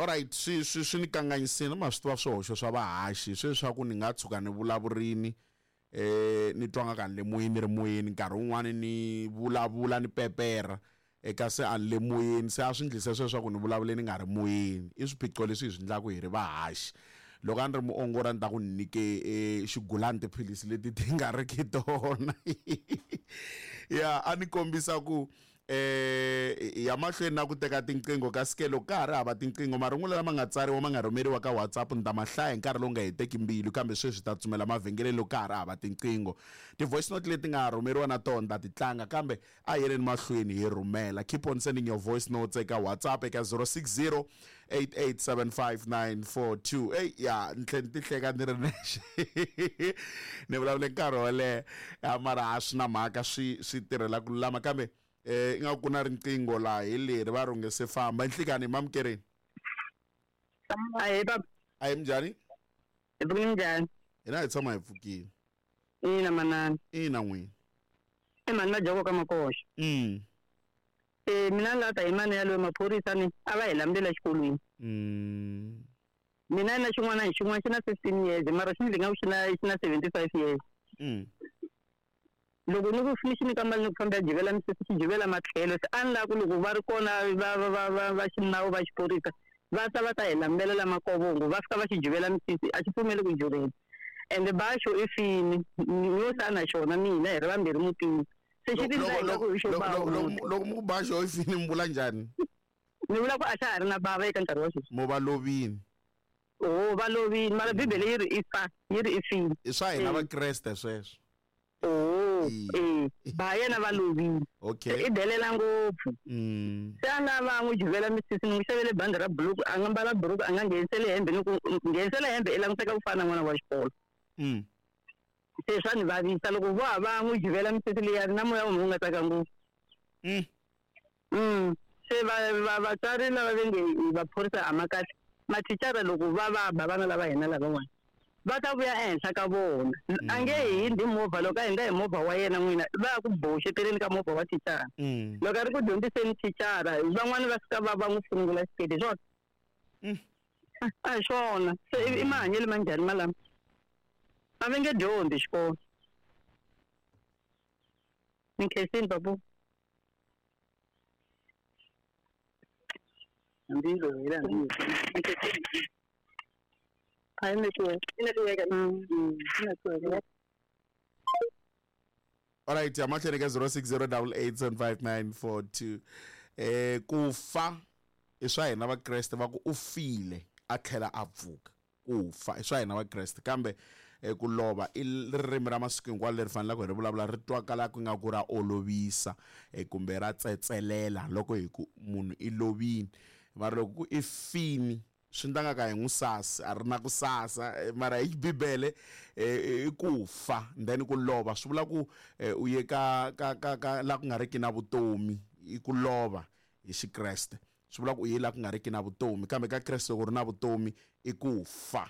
Alright, swi ni kanganyisile, ma swi tiva swihoxo swa vahaxi sweswi swa ku ni nga tshuka ni vulavurini, ni twa nga ka ni le moyeni, ni ri moyeni, nkarhi wun'wani ni vulavula ni pepera eka se a ni le moyeni, se a swi ndlise sweswo swa ku ni vulavule ni nga ri moyeni. I swiphiqo leswi hi swi endlaka hi ri vahaxi. Loko a ni ri muongori a ni ta ku ni nyike xigulani tiphilisi leti ti nga ri ki tona. Ya a ni kombisa ku ya mahlweni na ku teka tinqingho, kasi ke loko ka ha ri hava tinqingho, marungula lama nga tsariwa ma nga rhumeriwa ka WhatsApp ni ta ma hlaya hi nkarhi lowu nga heteki mbilu, kambe sweswi ta tsumela mavhengeleni loko ka ha ri hava tinqingho. Ti-voice note leti nga rhumeriwa na tona ta ti tlanga, kambe a yeleni mahlweni hi rhumela. Keep on sending your voice notes eka WhatsApp eka 060 8875942. Ey ya ni tlhe ni ti hleka ni ri nexe, ni vulavule nkarhi wo leha, mara a swi na mhaka, swi tirhela ku lulama. Kambe ingaku ku na riqingho laha hi leri va rhunge se famba. Nhlikani mamukereni. Ahee baba. Ahee, minjhani? Hi pfukile, minjhani? Hina hi tshama hi pfukile. Ina manana. Ina n'wini. I mhani Majoko ka Makoxa. Mina ni lava ta hi mani yaloye maphorisa ni a va hi lamulela exikolweni. Mina na xin'wana hi xin'wana xi na 15 years, mara xi ni nga xi na xi na 75 years. Loko ni ku ni xi nyika mali ni ku famba ya jivela misisi, xi jivela matlhelo, se a ni lava ku loko va ri kona va xinawu va xiphorisa va ta va ta hi lambelela la makovongo, va fika va xi jivela misisi, a xi pfumeli ku juvela. Ende baxo i fini ni yo sa na xona, mina hi ri vambirhi mutini, se xi tindla hi ku hi xo ba. Loko mu ku baxo i fini, mi vula njhani? Ni vula ku a xa ha ri na bava eka nkarhi wa sweswi. Mo va lovini? Oh, va lovini, mara Bibele yi ri i fa, yi ri i fini. I swa hina Vakreste sweswo. Oh, ba yena va lovile. Okay. I delela ngopfu. Se a nga va n'wi juvela misisi, ni n'wi xavele bandi ra buluku, a nga mbala buruku, a nga ngheniseli hembe, ni ku nghenisela hembe i languteka ku fana na n'wana wa xikolo. Se swa ni vavisa loko vo ha va n'wi juvela misisi liya, na moya wa wu nga tsaka ngopfu. Se va vatswari lava va nge vaphorisa a ma kahle, mathicara loko va va ba vana lava hina lavan'wana va ta vuya ehenhla ka vona. A nge hindzi movha, loko a hindza hi movha wa yena n'wina va ya ku boxeteleni ka movha wa thicara. Loko a ri ku dyondziseni thicara, van'wani va fika va va n'wi funungula xiketi, hi swona? A hi swona. Se i mahanyelo ma njhani malama? A va nge dyondzi xikolo. Ni khensini papu. Hambi hela hambi. Hayi network. I network. I network. Alright, amahlweni ka 0608875942. Ku fa i swa hina Vakreste, va ku u file a tlhela a pfuka. Ku fa i swa hina Vakreste, kambe ku lova i ririmi ra masiku hinkwawo leri faneleke hi ri vulavula, ri twakala ku nga ku ra olovisa, kumbe ra tsetselela loko hi ku munhu i lovini. Mara loko ku i fini, swi ndla nga ka hi n'wi sasi, a ri na ku sasa, mara hi Bibele i ku fa, then ku lova swi vula ku u ye ka ka ka ka la ku nga riki na vutomi, i ku lova hi Xikreste. Swi vula ku u ye la ku nga riki na vutomi, kambe ka Kreste loko ri na vutomi i ku fa.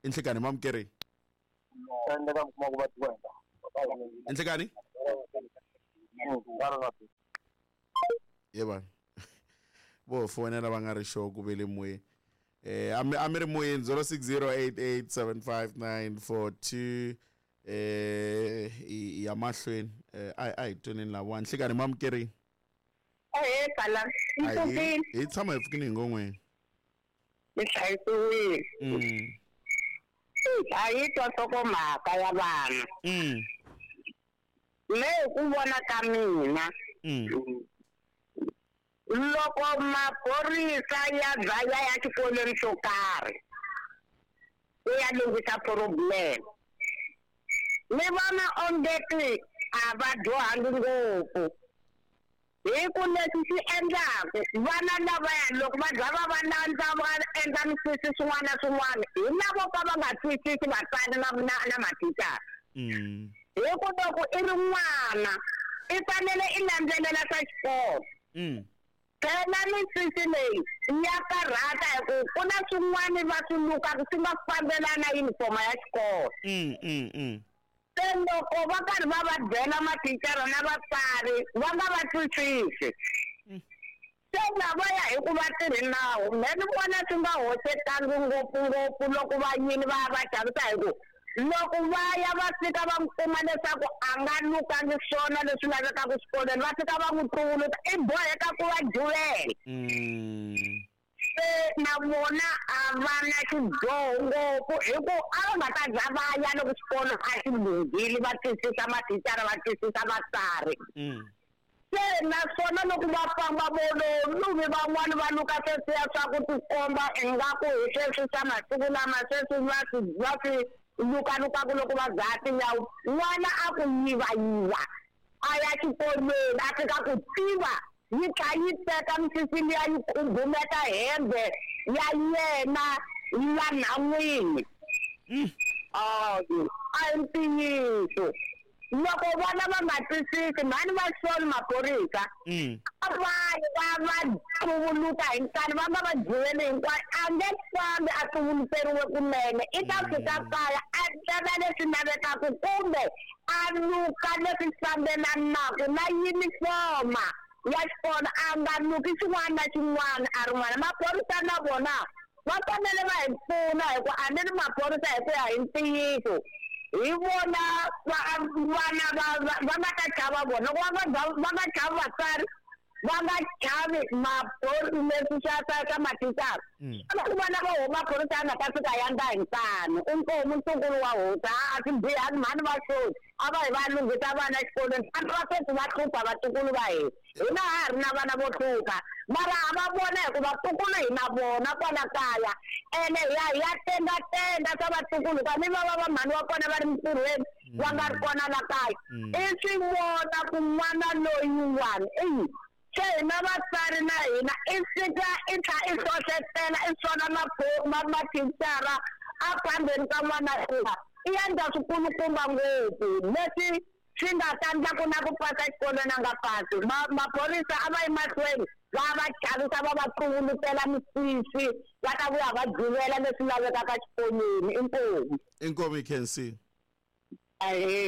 I nhlikani mamukereni? I nhlikani? Ye vanhu vo fonela va nga ri sure ku ve le moyeni. A mi ri moyeni 0608875942. Ya mahlweni, a hi tweneni lava. Nhlikani mamukereni? Ahee kala, ni pfukile. Hi tshama hi pfukile hi ngon'weni. Ni hlayisiwile. A yi twa nhlokomhaka ya vana. Me hi ku vona ka mina, loko maphorisa ya dlaya ya xikolweni xo karhi ku ya lunghisa problem, ni vona ongeti a va dyohangi ngopfu. Hi ku leswi swi endlaku vana lavaya loko va za va va landza va endla misisi swin'wana na swin'wana, hi lavo ka va nga twisisi vatswari na na na mathicara. Hi ku loko i ri n'wana i fanele i landzelela swa xikolo. Phela misisi leyi ya karhata hi ku ku na swin'wana va swi lukaka swi nga fambelani na yunifomo ya xikolo. Se loko va karhi va va byela mathicara na vatswari va nga va twisisi. Se lavaya hi ku va tirhi nawu, me ni vona swi nga hoxekangi ngopfungopfu loko va yini va ya va xavisa hi ku loko va ya va fika va n'wi kuma leswaku a nga lukangi swona leswi lavekaka xikolweni, va fika va n'wi tuvuluta, i boheka ku va juvela. Se na vona a va na xidyoho ngopfu hi ku a va nga ta za va ya loko xikolo a xi lunghile, va twisisa mathicara, va twisisa vatsari. Se naswona loko va famba vo lo luvi van'wani va luka sweswiya swa ku tikomba ingaku hi sweswi swa masiku lama sweswi va swi lukalukaku loko va dzaha tinyawa, n'wana a ku yivayiva a ya xikolweni, a fika ku tiva yi tlha yi teka misisi liya yi khumbumeta hembe ya yena la nhan'wini. A hi ntiyiso, loko vana va nga twisisi, mhani va soli maphorisa. A va yi va va tuvuluka hi nkani, va nga va juveli hinkwayo, a nge fambi a tuvuluteriwe kunene. I ta fika kaya a teka leswi lavekaka kumbe a luka leswi fambelanaka na yunifoma ya xikolo, a nga luki xin'wana na xin'wana a ri n'wana. Maphorisa na vona va fanele va hi pfuna, hi ku a ni ri maphorisa hi ku ya hi ntiyiso hi vona va vana va nga ta chava vona. Loko va nga chavi vatswari, va nga chavi maphorisa, leswi swa mathicara, loko vana va huma maphorisa ya nga ta fika ya ndla hi nkani. Inkomu, ntukulu wa hosi. A swi bihangi, mhani va soli, a va hi va lunghisa vana exikolweni. Vanhu va sweswi va hlupha vatukulu va hina, hina ha ha ri na vana vo hlupha, mara ha va vona hi ku vatukulu hi na vona kwala kaya, ene hi ya hi ya tengatenga swa vatukulu ka mi va mhani wa kona va ri mintirhweni, va nga ri kona la kaya. I swi vona ku n'wana loyiwani i se hina vatswari na hina i fika i tlha i hlohletela i swona mathicara a phambeni ka n'wana luya, i endla swikulukumba ngopfu leswi swi nga ta ndla ku na ku pasa xikolweni a nga pasi. Maphorisa a va yi mahlweni va va chavisa, va va tuvulutela misisi, va ta vuya va juvela leswi lavekaka xikolweni. Inkomu. Inkomu, you can see. Ahee.